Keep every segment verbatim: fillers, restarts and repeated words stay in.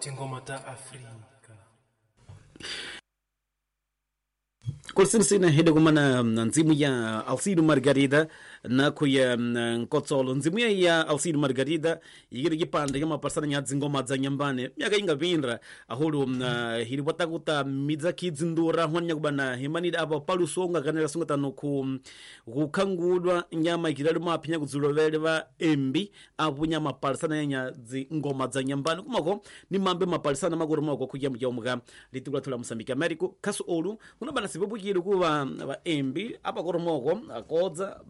Tingoma ta Afrika. Kulisinasina hede kumana nzimu ya Alcino Margarida na kuya nkotsolo nzimu ya ya Alcino Margarida yigiri kipande kama pasana nya dzingoma dza nyambane myaka ingapindra ahulu hili watakuta midza kidzindura hwanya kubana himanida apa palusonga kanela sunga tano ku kukhangudwa nyama ikilali maphinya kudzulovele va embi apo nyama pasana nya dzingoma dza nyambane kumako ni mambe mapalisana makuru mako kuya mjaumuka litikula thula Mosambiki Americo khasu olu kunabana sipupukile kuva va embi apa koromoko akodza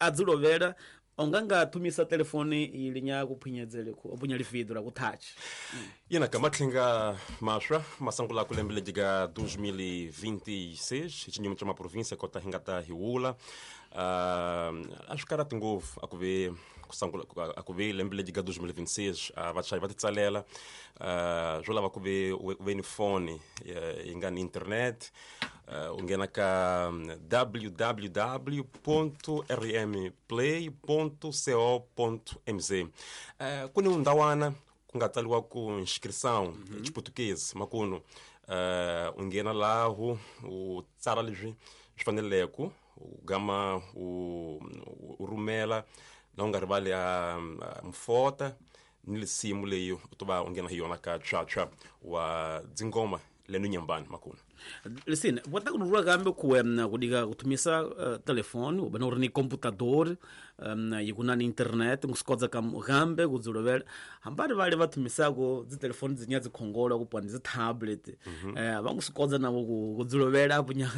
adzilovela onganga thumisa telefoni ili nya kuphinyedzele ku opunya lividu la kutouch yena kamatlhinga maswa masangula kulembele diga dois mil e vinte e seis xinyimo xa maprovinsia kota hi nga ta hiwula uh, a swi karhati ngopfu a ku ve kusangula a ku ve lembe lediga dois mil e vinte e seis a vachayi va ti tsalela uh, swo lava ku ve u ve ni foni yi nga ni internet u nghena ka w w w ponto r m play ponto co ponto m z uh, ku ni ndhawana ku nga tsaliwa ku inscrição mm-hmm. Xiputukezi makunu uh, u nghena laho u tsala leswi swi faneleke u gama u, u rhumela na u nga rivali a mfota ni lisimu leyi u to va u nghena hi yona ka tshwatshwa wa dzingoma lenu nyambani makunu listen bota kunurua kambe kuwe kudika kutumisa uh, telefone ubana uri ni computador um, yikuna ni internet ngusikodza kambe kudzulovela hambari vale vathumisako dzitelefoni dzinya dzikhongola kupwa ni dzitablet mm -hmm. eh, vangusikodza navo kudzulovela apo nya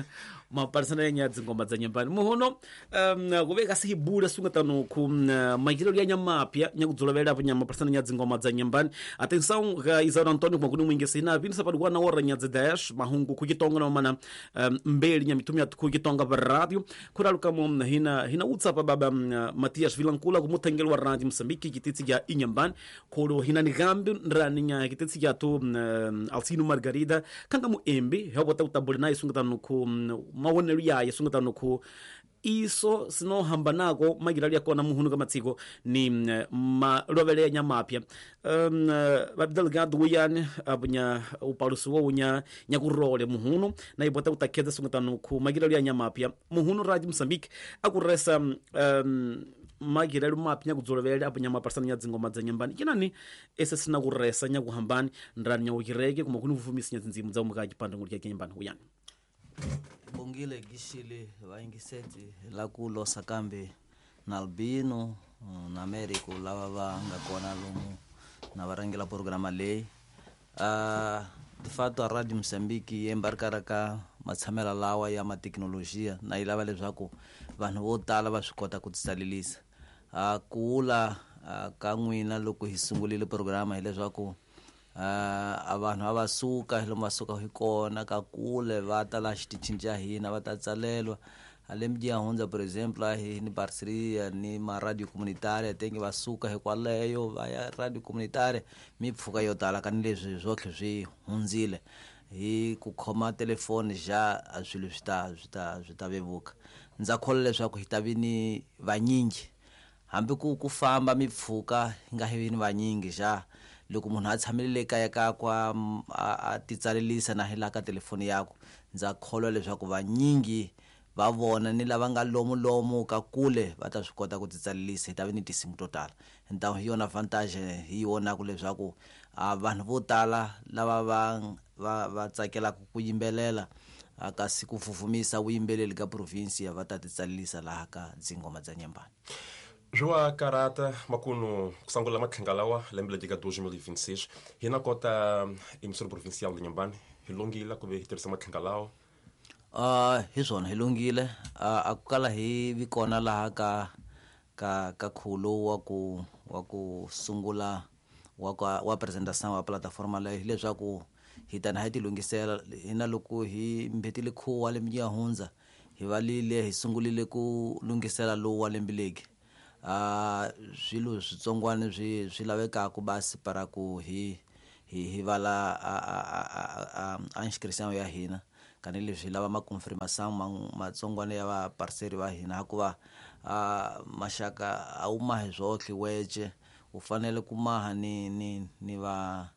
maparisana ya nya dzingoma dza nyambani muhuno um, kuveka sihibula sungatano ku um, makilelo ya nyamapya nya kudzulovela apo nya maparisana nya dzingoma dza nyambani atenção ga Isaura Antonio kumakuni mwingesi ina vinsa padikuwa na ora nya dez mahungu kukitonga na mana um, mbeli nya mitumia kukitonga pa radio kuraluka mo hina hina utsapa baba um, Matias Vilankula kumutengelo wa radio Mosambiki kititsi ya inyambani kholo hina ni gambi nrani nya kititsi ya tu um, Alcino Margarida kanga mu embi hobota utabule naye sungatano ku um, mawonelo yaye sungatano ku iso sinohamba nako magirali yakona muhunu kamatsiko ni malovele ya nyamapya um, badelegado uyani abunya upalusi wo unya nyakurole muhunu na ibota utakhedza sungatano ku magirali ya nyamapya muhunu radio Mosambiki akuresa um, magirali mapya nyakudzolovele abunya maparsana nya dzingoma dza nyambani kinani ese sinakuresa nyakuhambani ndrani nyawukireke kumakuni vuvumisi nya dzindzimu dza umukaji panda ngulya nyambani uyani bongile gishile vaingiseti la ku losa kambe na Albino na Americo lava va nga kona lomu na varangela programa leyi uh, de fato a Radio Mosambiki yi embarkara ka matshamela lawa ya mateknolojia na yi lava leswaku vanhu vo tala va swi kota ku titsalelisa uh, ku wula uh, ka n'wina loko hi sungulile programa hileswaku Uh, a vanhu a va suka lomu va suka hi kona ka kule va ta la xitichini xa hina va ta tsalelwa lembe ya hundza por exemple a hi ni parceria ni ma radio comunitaria tenge va suka hikwaleyo va ya radio comunitaria mipfhuka yo tala ka ni leswi swotlhe swi hundzile hi ku khoma telefoni xa a swilo swi ta swi ta swi ta vevuka ndza kholwa leswaku hi ta vi ni vanyingi hambi ku ku famba mipfhuka hi nga hi vi ni vanyingi xa loko munhu a tshamile kaya ka kwa a titsalelisa na hi la ka telefoni yakwe ndza kholwa leswaku vanyingi va vona ni lava nga lomu lomu ka kule va ta swi kota ku titsalelisa hi ta vi ni tinsimu to tala ntawu hi yona vantage hi vonaka leswaku a vanhu vo tala lava va va va tsakelaka ku yimbelela kasi ku fufumisa vuyimbeleri ka province va ta titsalelisa laha ka dzingoma dza nyambani Joa Karata makunu kusangula matlhinga lawa lembe lediga dois mil e vinte e seis hina kota emissora provincial de Inhambane hi longile ku ve hi tirhisa matlhinga lawa uh, hi swona hi longile uh, a ku kala hi vi kona laha ka ka ka khulo wa ku wa ku sungula wa ka wa presentation wa plataforma leyi hileswaku hi tana hi ti lunghisela hina loko hi mbhetile khuwa lembe ya hundza hi valile hi sungulile ku lunghisela lowu wa lembe legi a uh, swilo switsongwana swi swi lavekaka basi para ku hi hi hi vala a a a a inscription ya hina kani leswi lava ma confirmation matsongwana ya va parceri va hina hikuva a maxaka a wu mahi swotlhe wece u fanele ku maha ni ni ni va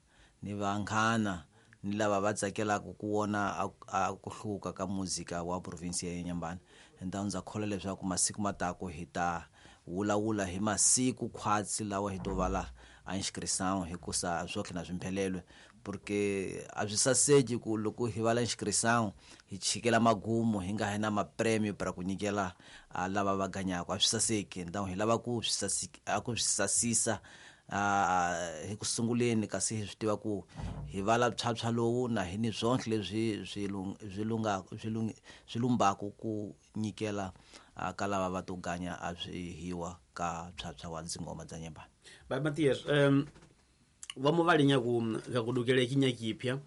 ni vanghana ni lava va tsakelaka ku vona a ku hluka ka muzika wa province ya Inhambane. Então ndza kholwa leswaku masiku matako hi ta wulawula hi masiku khwatsi lawa hi to vala a inscrição hikusa swotlhe na swimphelelwe, porque a swi saseki ku loko hi vala inscrição hi chikela magumu hi nga hi na mapremio para ku nyikela a lava va ganyaka, a swi saseki. Então hi lava ku swi sasiki a ku swi sasisa a hi ku sunguleni, kasi hi swi tiva ku hi vala phyaphywa lowu na hi ni swonhle leswi swi swi lunga swi swi lumbaku ku nyikela ka lava va to ganya a swi hiwa ka phyaphywa wa dzingoma dza Nyembani. Ba Matias, um va mo va linya ku ka ku dukele kinyakipya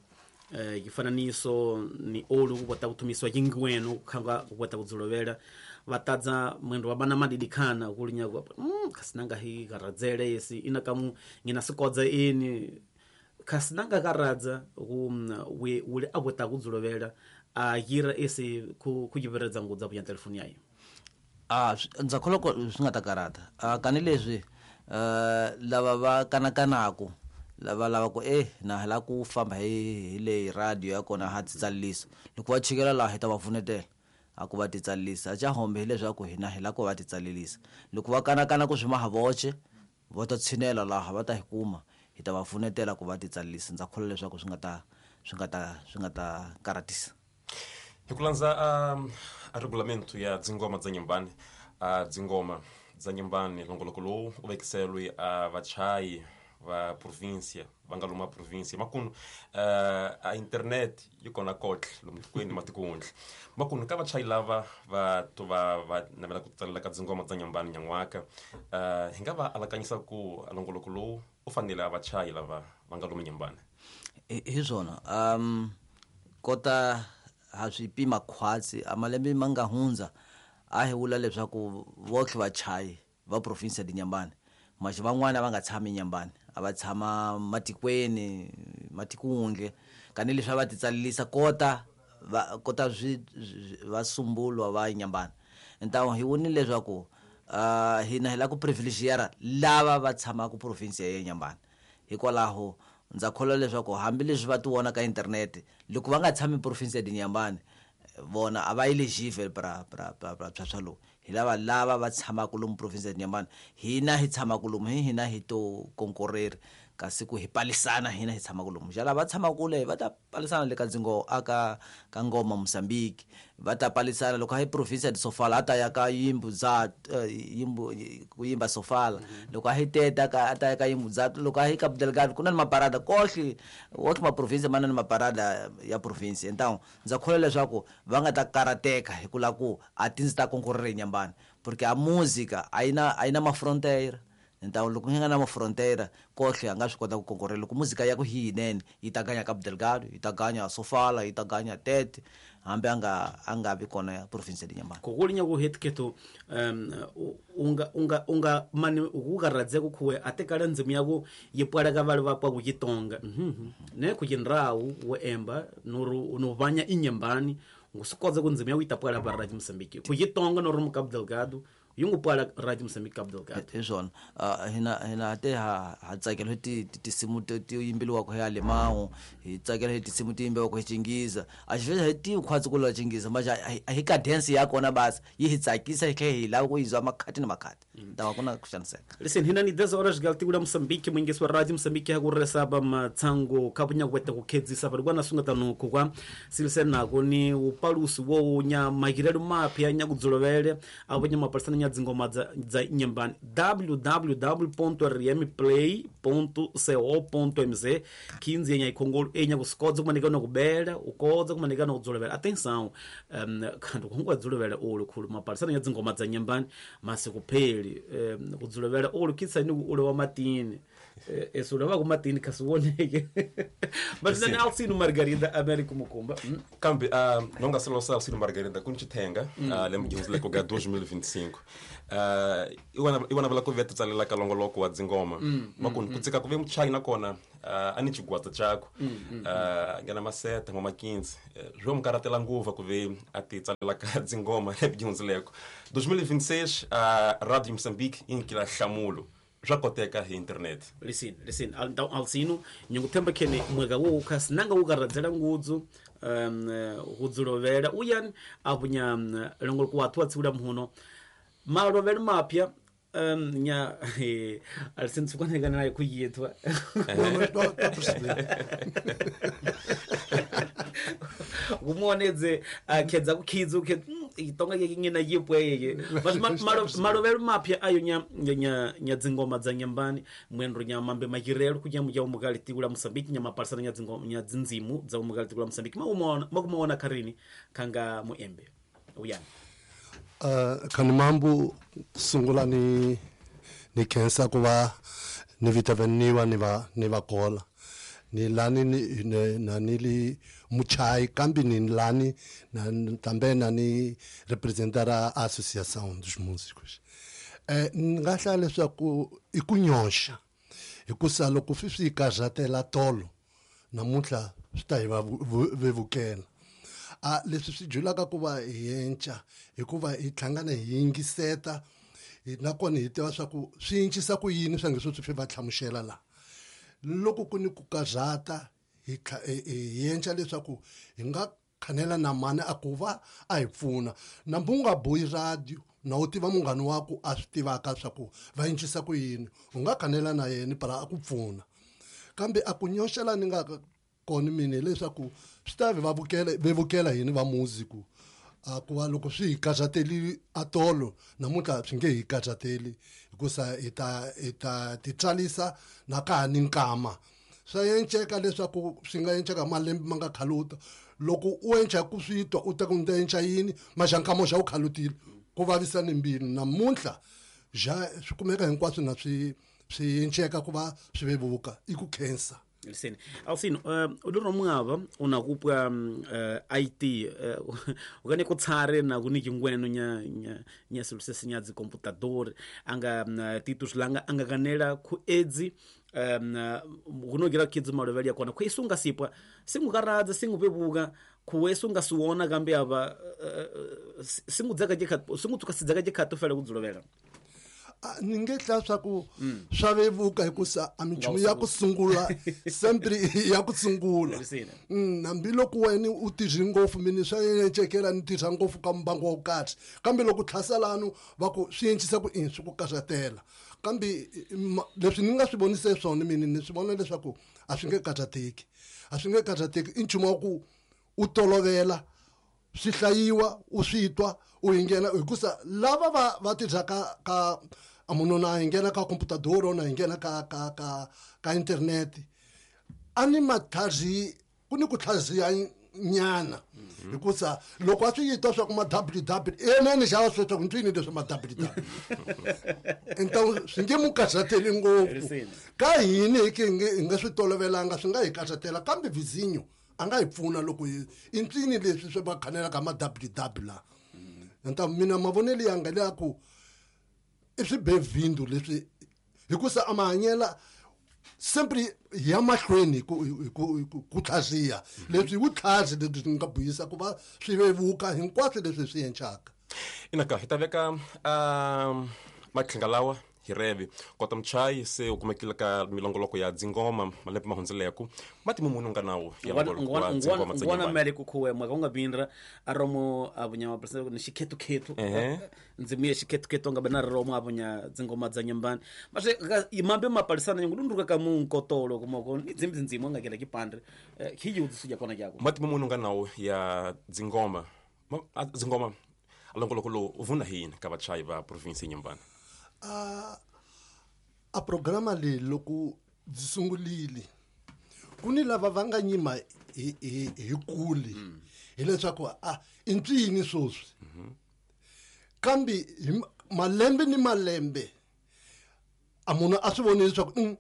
eh kifananiso ni olu ku kota kutumiswa kingweno khanga ku kota kudzulovela vatadza mwendo wa bana madidikhana kulinya ku mm kasinanga hi karadzele yesi ina kamu ngina sikodza ini kasinanga karadza ku we ule akota kudzulovela a yira esi ku kujiberedza ngudza buya telefoni yayo. Ah ndza kholwa ku swi nga ta karata ah kani leswi eh lava va kanakanaku lava lava ku eh na hala ku famba hi hi le radio ya kona ha titsalisa loko va chikela laha hi ta va pfunetela a ku va titsalisa cha hombe hileswaku hina hi la ku va titsalisa loko va kanakana ku swi mahavoche va ta tshinela laha va ta hi kuma hi ta va pfunetela ku va titsalisa. Ndza kholwa leswaku swi nga ta swi nga ta swi nga ta karatisa. Hi ku landza a regulamento ya dzingoma dza Nyembani, a dzingoma dza Nyembani longoloko lowu u vekiselwe a vachayi va província va nga luma província makunu a internet yi kona kotle lomu tikweni matikundla makunu ka vachayi lava va to va va navela ku tsalela ka dzingoma dza Nyembani nyan'waka hi nga va alakanyisa ku longoloko lowu u fanele a vachayi lava va nga luma Nyembani. Hi swona um kota ha swi pima khwatsi a malembe ma nga hundza a hi vula leswaku votlhe vachayi va province ya Nyembani maxi van'wana va nga tshami Nyembani a va tshama matikweni matikundle kani leswi va titsalisa kota va kota swi va sumbulwa va Nyembani. Então hi vonile leswaku uh hina hi la ku privilegiara lava va tshamaka province ya Nyembani, hikwalaho ndza kholwa leswaku hambileswi va ti vona ka internet loko va nga tshami province ya Nyembani vona a va eligible pra pra pra pra phyaphywa lowu. Hi lava lava va tshamaka lomu province ya Nyembani, hina hi tshamaka lomu hi hina hi to konkoreri kasi ku hi palisana hina hi tshamaka lomu xa lava tshamaka kule va ta palisana le ka dzingo aka ka ngoma Mozambique va ta palisana loko hi province ya Sofala ata ya ka yimbu za yimbu ku yimba Sofala loko hi teta ka ata ya ka yimbu za loko hi Cabo Delgado ku na ni maparada kohle woke ma province mana ni maparada ya province. Então ndza kholwa leswaku va nga ta karateka hi ku la ku a ti ndzi ta konkorera Nyembani porque a música a yi na a yi na mafrontiera. Então loko hi nga na mafrontiera kohle a nga swi kota ku konkorela loko muzika ya ku hi yinene yi ta ganya Cabo Delgado yi ta ganya Sofala yi ta ganya Tete hambi a nga a nga vi kona ya province ya Nyembani. Ku kulinya ku hetiketo um unga unga unga mani ku karadze ku khuwe a tekala ndzimu ya ku yi pwala ka vale va pwa ku Chitonga ne ku Chindrawu wo emba nuru no vanya inyembani ngusikodza ku ndzimu ya ku yi ta pwala va Radio Mozambique ku Chitonga no ri Cabo Delgado yungu pwala Radio Mozambique Cabo Delgado. Hi swona hina hina te ha ha tsakela hi ti tinsimu ti yimbiliwaka hi Alemão hi tsakela hi tinsimu ti yimbiwaka hi Chingiza a xi hi ti khwatsi ku la Chingiza maxa a hi cadence ya kona basi yi hi tsakisa hi tlhela hi lava ku yi zwa makhati na makhati ntawa kuna ku xaniseka. Listen hina ni dez horas galtigula Mozambique mwingiso wa Radio Mozambique ha ku resaba matsango kabunya kwete ku khedzisa bari kwana sunga tanu kwa silise nako ni upalusi wo nya magirelo mapya nya kudzolovele abo nya mapalisana nya dzingoma dza dza Nyembani w w w ponto r m play ponto co ponto m z quinze enya ikhongolo enya kusikodza kumanika no kubela ukodza kumanika no kudzolovela. Atenção um kanti kungwa dzolovela olu khulu mapalisana nya dzingoma dza Nyembani masikupheli um kudzolovela olu kitsa ni ule wa matini eso lava ku matini kasiwoneke but then Alcino Margarida Américo Mukumba kambe uh, não nga selo Alcino Margarida kunchitenga uh, lembe jihunzile ku ga dois mil e vinte e cinco uh, iwana iwana vula ku veta tsalela ka longoloko wa dzingoma makuni ku tsika ku ve muchayi nakona uh, ani chigwata chako uh, ngana maseta ngoma quinze zwo mukaratela nguva ku ve ati tsalela ka dzingoma lembe jihunzileko dois mil e vinte e seis uh, Radio Moçambique inkila hlamulo swa koteka hi internet. Listen, listen, então Alcino nyunguthemba khene mweka wo khasi nanga ukaradzela ngudzu um hudzilovela uyan abunya longol ku athu atsiula muno malovela mapya um nya Alcino tsukwanekana naye kuyetwa kumuonedze akhedza kukhidzu khe itonga ke ngina yipweye but malovelo mapya ayo nya nya nya dzingoma dza nyambani mwendo nya mambe makirelo kunya muja umukali tikula Mosambiki nya maparsana nya dzingoma nya dzindzimu dza umukali tikula Mosambiki maumona makumona karini kanga muembe uyani uh kan mambu sungula ni ni kensa kuva ni vitaveniwa ni va ni va kola ni lani ni na nili muchai kambi ni lani na também na ni representar a Associação dos Músicos. Eh ngahla leswaku ikunyosha hikusa loko swi karhatela tolo namuntlha swi ta hi va vevukela. A leswi swi julaka ku va hi enca hikuva hi hlangana hi yingiseta nakona hi tiva swa ku swi encisa ku yini swa nge swi swi va hlamusela la. Loko ku ni ku karhata hi hi enca leswaku hi nga khanela na mani a ku va a hi pfuna na mbunga boyi radio na u tiva munghana wa ku a swi tivaka swa ku va encisa ku yini u nga khanela na yena para a ku pfuna kambe a ku nyoxela ni nga kona mina leswaku swi ta va vukela vevukela yini va musiku a ku va loko swi hi karhateli atolo namuntlha swi nge hi karhateli hikusa hi ta hi ta titsarisa na ka ha ni nkama swa enceka leswaku swi nga enceka malembe ma nga khaluta loko u enca ku swi twa u ta ku ni ta enca yini maxankamo xa u khalutile ku vavisa ni mbilu namuntlha ja swi kumeka hinkwaswo na swi swi enceka ku va swi vevuka i ku khensa. Listen, Alcino, uh, uliro mwava unakupwa uh, I T uh, ukane kutsare na kuniki ngweno nya nya nya solusi nya dzi computador anga uh, titus langa anga kanela ku edzi um kunogira kidzi maloveli yakona kwesunga sipwa singukaradza singupepuka kuwesunga siwona kambe ava uh, singudzaka jekha singutsuka sidzaka jekha tofela kudzulovela. Ni nge hla swa ku swa vevuka hikusa a minchumu ya ku sungula sempre ya ku sungula hambiloko wena u tirhi ngopfu mina swa encekela ni tirha ngopfu ka mbangu wo karhi kambe loko tlhaselano va ku swi encisa ku i swi ku karhatela kambe leswi ni nga swi vonise swona mina ni swi vona leswaku a swi nge karhateki a swi nge karhateki i nchumu wa ku u tolovela swi hlayiwa u swi twa u nghena hikusa lava va va tirhaka ka a munhu na nghena ka computador na nghena ka ka ka ka internet a ni matlhazi ku ni ku tlhaziya nyana hikusa loko a swi yitwa swa ku ma w w enene xava swi swa ku ntwini leswi ma w w então swi nge mu karhateli ngopfu ka hini hi ke hi nga swi tolovelanga swi nga hi karhatela kambe vizinyo a nga hi pfuna loko i ntwini leswi swi va khanelaka ma w w la. Então mina mavonelo yanga le ku i swibevindu leswi hikusa a mahanyela sempre ya mahlweni ku ku ku tlhaziya leswi wu tlhazi leswi nga buyisa ku va swi vevuka hinkwaswo leswi swi encaka. Inaka hi ta veka um matlhinga lawa hi reve kota mchai se u kumekile ka milongoloko ya dzingoma malembe mahundzeleko matimu munhu nga nawo ya longoloko wa dzingoma tsa ngwana mele ku khuwe mwa nga bindra aromo abunya mapresident ni xikhetu khetu ndzimu ya xikhetu khetu nga bana romo abunya dzingoma dza nyambani mase imambe mapalisana nyungulunduka ka munkotolo kumoko ni dzimbi ndzimu nga kela kipandre khiyudzi suja kona kyako matimu munhu nga nawo ya dzingoma dzingoma longoloko lo vuna hini ka vachai va province nyambani. A a programa leyi loko byi sungulile ku ni lava va nga nyima hi hi hi kuli hileswaku a i ncini sweswi kambe hi malembe ni malembe a munhu a swi voni leswaku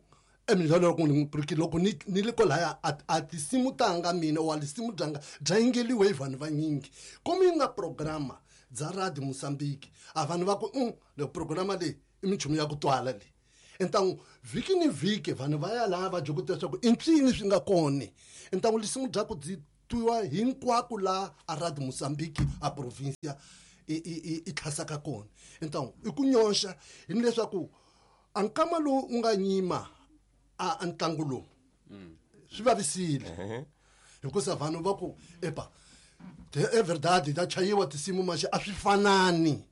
emidlalo loko ni loko ni ni le kwalaya a tinsimu tanga mina wa tinsimu byanga bya yingeliwe hi vanhu vanyingi komi yi nga programa bya Radio Mozambique a vanhu va ku le programa leyi i minchumu ya ku twala leyi entangu vhiki ni vhiki vanhu va ya laha va dyokota leswaku i mpyini swi nga kona entangu lisimu bya ku byi twiwa hinkwako laha a Radio Mozambique a provincia i i i tlhasaka kona entangu i ku nyoxa hi leswaku A nkama lowu u nga nyima a ntlangu lowu swi vavisile hikusa vanhu va ku epa é verdade da chayiwa tinsimu maxe a swi fanani.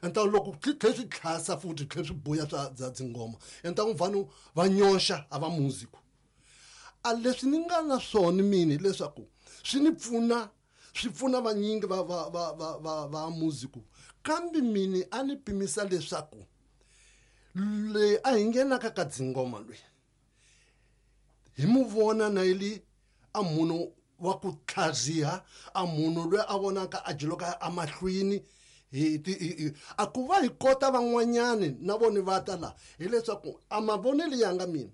Então loko swi tlhe swi tlhasa futhi tlhe swi buya swa bya dzingoma, então vanhu va nyoxa a va musico. A leswi ni nga na swona mina hileswaku swi ni pfuna swi pfuna vanyingi va va va va va va musico, kambe mini a ni pimisa leswaku le a hi nghenaka ka dzingoma loyi hi mu vona na ili a munhu wa ku tlhaziha, a munhu loyi a vonaka a jiloka amahlweni hi a ku va hi kota van'wanyani na vona va ta la hileswaku a mavonelo ya nga mina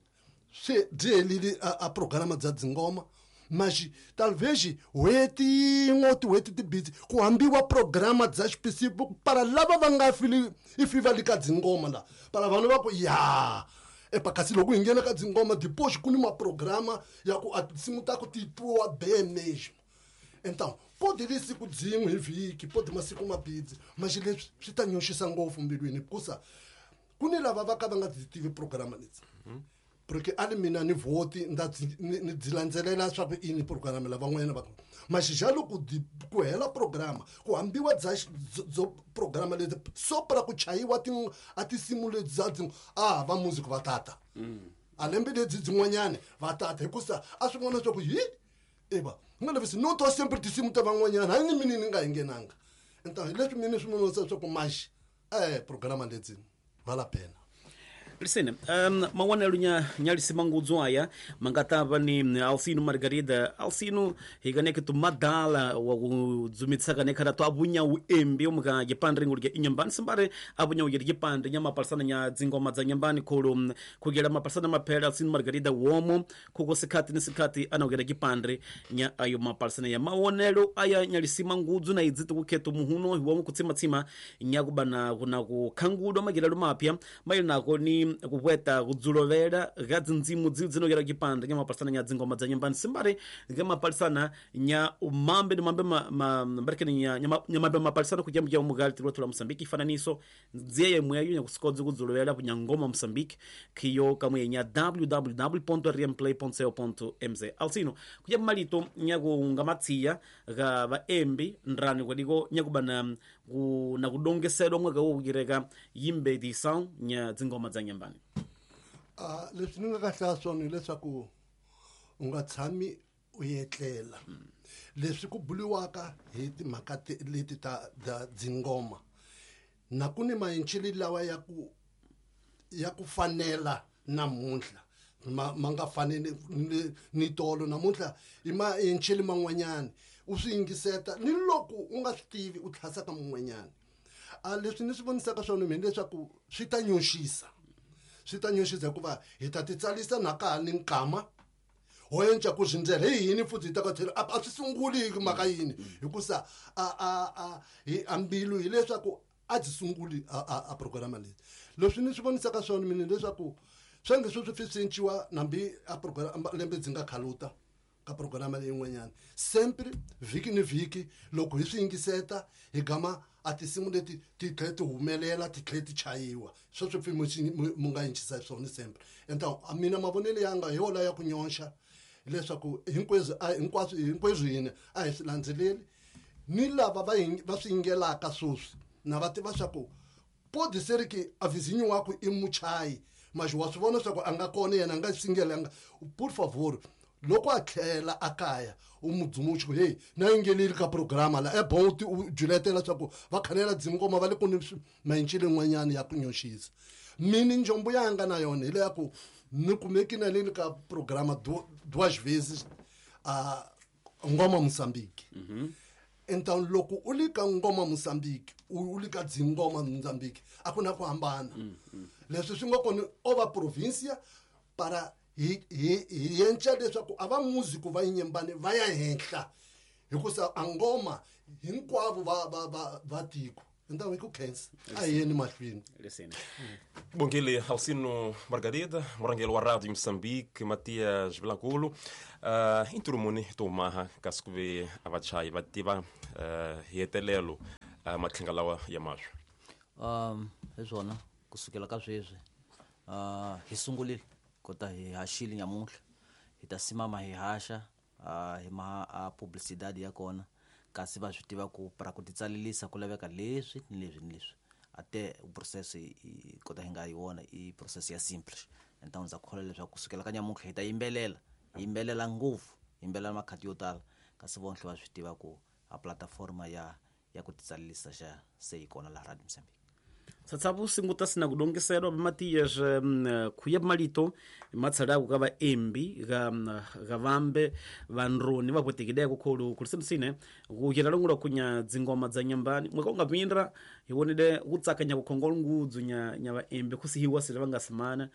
se byi helile a programa bya dzingoma maxi talvez n'hweti yin'we tin'hweti timbirhi ku hambiwa programa bya xipisipu para lava va nga fili ifi va le ka dzingoma la para vanhu va ku ya epa kasi loko hi nghena ka dzingoma depois ku ni maprograma ya ku a tinsimu ta ku ti twiwa bem mesmo. Então pode li siku dzin'we hi vhiki pode masiku mabidzi maxi leswi swi ta nyoxisa ngopfu mbilwini hikusa ku ni lava va ka va nga byi tivi programa leti porque ali mina ni vhoti nda ni byi landzelela swa ku ini programa lava van'wanyana va maxi xa loko ku hela programa ku hambiwa bya byo programa leti so para ku chayiwa ti a tinsimu leti bya dzi a va music va tata a lembe lebyi byin'wanyani va tata hikusa a swi vona swa ku hi eba nga levisi no to sempre tinsimu ta van'wanyana hayi ni mina ni nga hi nghenanga. Então hi leswi mina swi vonisa swa ku maxi eh programa leti vala pena. Listen, um, mawonelo nya nyalisi mangudzo aya mangatava ni Alcino Margarida. Alcino hikaneke tu madala wa kudzumitsaka kanekhala to abunya uembi omuka gipandre ngulike inyambani simbare abunya ugere gipandre nya mapalsana nya dzingoma dza nyambani khulu kugela mapalsana maphela Alcino Margarida womo kuko sikhati ni sikhati anogera gipandre nya ayo mapalsana ya mawonelo aya nyalisi mangudzo na idziti kukheto muhuno womo kutsima-tsima nya kubana kuna kukhangudwa magilalo mapya maili nako ni kuweta kudzulovela ga dzindzimu dzinogera gipande nya mapalsana nya dzingoma dza nyambani simbare nga mapalsana nya umambe ni mambe ma mbarekeni nya nya mambe mapalsana kujya mujya umugali tilwa Mozambique ifananiso nziye mweyo nya kusikodzi kudzulovela kunya ngoma Mozambique kiyo kamwe nya w w w ponto r m play ponto co ponto m z. Alcino kujya malito nya kungamatsiya ga vaembi ndrani kwadiko nya kubana ku na kudongeselwa mwaka wo kugireka yimbe edição nya dzingoma dza nyambani. Ah leswi ni nga ka hlaya swona hileswaku u nga tshami u etlela leswi ku buliwaka hi timhaka leti ta dzingoma na ku ni maenchili lawa ya ku ya ku fanela namuntlha ma, ma nga faneli ni, ni tolo namuntlha i maenchili man'wanyana u swi yingiseta ni loko u nga swi tivi u tlhasaka mun'wanyana. A leswi ni swi vonisaka swona mina leswaku swi ta nyoxisa swi ta nyoxisa hikuva hi ta titsalisa na ka ha ni nkama ho enca ku zindzela hi yini futhi hi ta ka tlhela a swi sunguli hi mhaka yini hikusa a a a hi ambilu hileswaku a byi sunguli a a programa leyi. Leswi ni swi vonisaka swona mina leswaku swa nge sweswi swi cinciwa nambi a programa lembe byi nga khaluta ka programa leyin'wanyana sempre vhiki ni vhiki loko hi swi yingiseta hi gama a tinsimu leti ti tlhela ti humelela ti tlhela ti chayiwa sweswo pfi mu nga yinchisa swona sempre. Então a mina mavonelo ya nga hi wona ya ku nyonxa hileswaku hinkweswo hinkwaswo hinkweswo yini a hi swi landzeleli ni lava va va swi yingelaka sweswi na va tiva swa ku pode ser que a vizinho wakwe i muchayi mas wa swi vona swa ku a nga kona yena a nga swi yingelanga por favor loko a tlhela a kaya u mudzumuxi ku hey na yingeleli ka programa la e bon u juletela swa ku va khanela dzingoma va le ku ni maenchile n'wanyana ya ku nyoxisa. Mina njombo yanga na yona hi leya ku ni kumeki na le ka programa duas vezes a ngoma Mozambique. Então loko u le ka ngoma Mozambique u le ka dzingoma Mozambique a ku na ku hambana leswi swi nga kona o va provincia para hi hi hi yenca leswaku a va musico va yinyembani va ya henhla hikusa a ngoma hinkwavo va va va va tiko. Então hi ku khensa a hi yeni mahlweni. Bongile Alcino Margarida, morangelo wa Rádio Moçambique, Matias Vilanculo, uh, inturumuni tumaha kasikuve avachayi va tiva uh, hi hetelelo uh, matlhinga lawa ya maswa. Um hi swona kusukela ka sweswi Uh, hi sungulile kota hi haxile nyamuntlha hi ta simama hi haxa uh, hi maha a publicidade ya kona kasi va swi tiva ku para ku titsalelisa ku laveka leswi ni leswi ni leswi ate process i kota hi nga yi vona i process ya simple. Então ndza kholwa leswaku kusukela ka nyamuntlha hi ta yimbelela yimbelela ngopfu yimbelela makhati yo tala kasi vonhle va swi tiva ku a plataforma ya ya ku titsalelisa xa se yi kona laha Radio Mozambique. Tsatsabu singuta sina kudongeselwa Matias khuya malito matsala ku ka embi ga ga vambe vanroni va kwetekile ku kholu kulisemsine ku yela longula kunya dzingoma dza nyambani mweka unga pindra hi wonile ku tsakanya ku khongolo ngudzu nya nya va embi kusihiwa sile va nga simana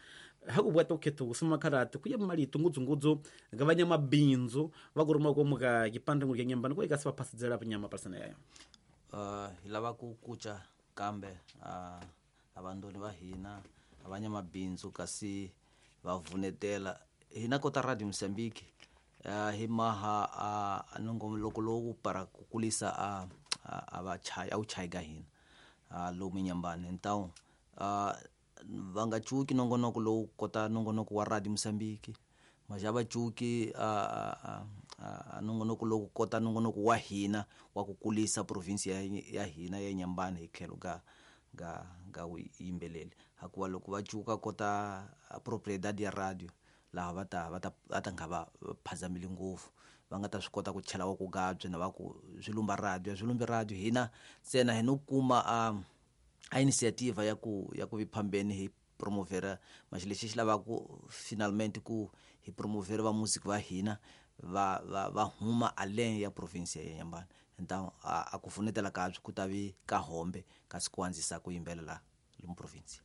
hakubwata ukhetho kusima karate kuya malito ngudzu ngudzu ga vanya mabinzu va kuruma ko muka kipande ngul nyambani ku ikasi va phasidzela nyama pasana yayo. Uh hi lava ku kucha kambe a avandoni va hina avanya mabindzu kasi va vunetela hina kota Radio Mozambique hi maha a nongoloko lowu para ku kulisa a a va chaya a chaya ga hina lomu nyambani. Então va nga cuki nongonoko lowu kota nongonoko wa Radio Mozambique maja va cuki a a nongonoko lowu kota nongonoko wa hina wa ku kulisa province ya ya hina ya Nyambani hi tlhelo ga ga ga yimbeleli hakuva loko va cuka kota propriedade ya radio laha va ta va ta va ta nga va phazamile ngopfu va nga ta swi kota ku chela wa ku gabye na va ku swi lumba radio swi lumbi radio hina ntsena hi no kuma a a initiative ya ku ya ku viphambeni hi promovera mas lexi xi lavaka finalmente ku hi promovera va music va hina va va va huma além ya province ya Nyambani. Então a, a ku funetela kabye ku ta vi ka hombe kasi ku andzisa ku yimbelela lomu province.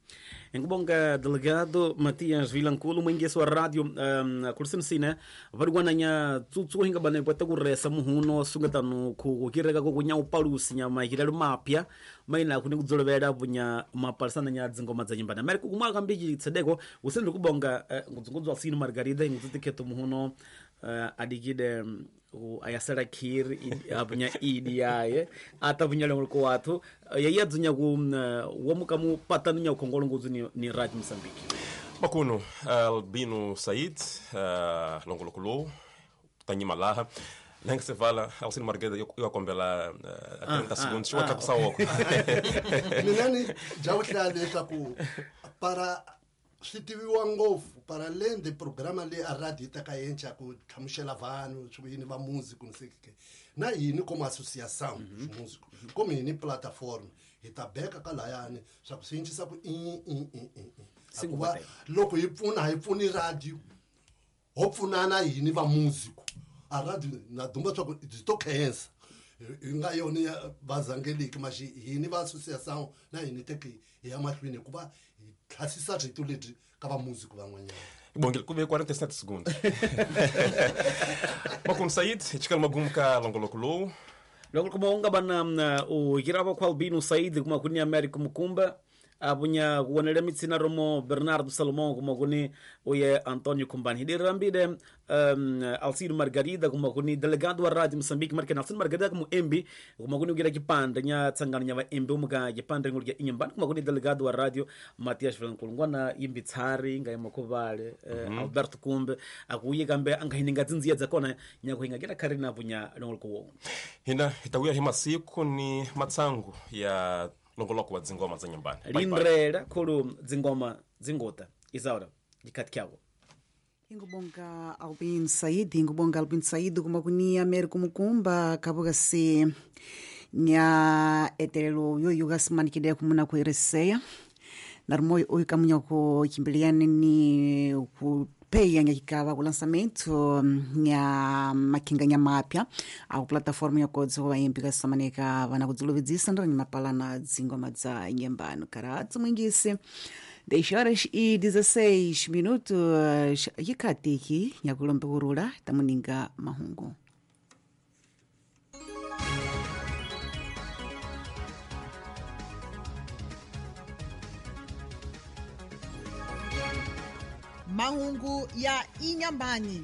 Ngibonga delegado Matias Vilanculo mwingeso wa radio um, kulisemsine varigwana nya tsutsu hinga bana pweta kuresa muhuno sungatano ku kireka ko kunya upalusi nya mahirelo mapya maina kuni kudzolovela bunya mapalisana nya dzingoma dza nyimbana mari kumwa kambiji tsedeko usendri kubonga uh, ngudzungudzwa sino Margarida ingutsikheto muhuno uh, adikide um, ayasela khiri abunya idi yaye atabunya longolo kwathu yeye dzunya ku womuka mu patanu nya khongolo ngudzu ni, ni Radio Mozambique. Makuno Albino Said uh, longolo kulo tanyima laha lenga se vala Alcino Margarida eu akombela uh, trinta segundos wa tlakusa woko mina ni jawuhla leswaku para swi tiviwa ngopfu para além de programa leyi a radio yi teka yenca ku hlamusela vanhu swi yini va music ni sei na yini como associação mm-hmm. músico como yini plataforma hi ta beka ka layani swa ku swi cincisa ku i i i i hikuva loko hi pfuna hi pfuni radio ho pfunana yini va music a radio na dumba swa ku byi to khensa hi nga yona ya vazangeliki maxi yini va associação na yini teki hi ya mahlweni hikuva hi tlhasisa rito lebyi ka va music van'wanyana. Bom, kube quarenta e sete segundos. Makuno Said, chikala magumu ka longolokolo. Longolo kuma unga bana o girava com Albino Said kuma kuni Américo Mukumba abunya kuonela mitsina romo Bernardo Salomão kuma kuni oye Antonio Kumbani hidirambide um, Alcino Margarida kuma kuni delegado wa Radio Mozambique marke Alcino Margarida como embi kuma kuni ugira kipande nya tsangano nya va embi umuka kipande ngulya inyambani kuma kuni delegado wa radio Matias Vilanculo ngwana yimbi tsari nga yamakuvale mm -hmm. uh, Alberto Kumbe akuye kambe angahininga dzinziya dzakona nya kuhinga kila karina bunya longolo hina hitawuya hi masiku ni matsangu ya longoloko wa dzingoma dza nyambani lindrela khulu dzingoma dzingota Isaura dikati kyako Ingubonga Albin Said ingubonga Albin Said kuma kuni Américo Mukumba kabuga se nya etelelo yo yuga simanikide kumuna ku Ericeia narumoyo oyu kamunya ku kimbiliane ni ku peia nya kikava ku lançamento nya makinga nya mapya a plataforma ya kodzo va yimbi ka samaneka vana kudzilovedzisa ndra mapalana dzingoma dza nyembano karatso mwingisi dez horas e dezesseis minutos yikatiki nyakulombe kurula tamuninga mahungu. Mahungu ya Inhambane.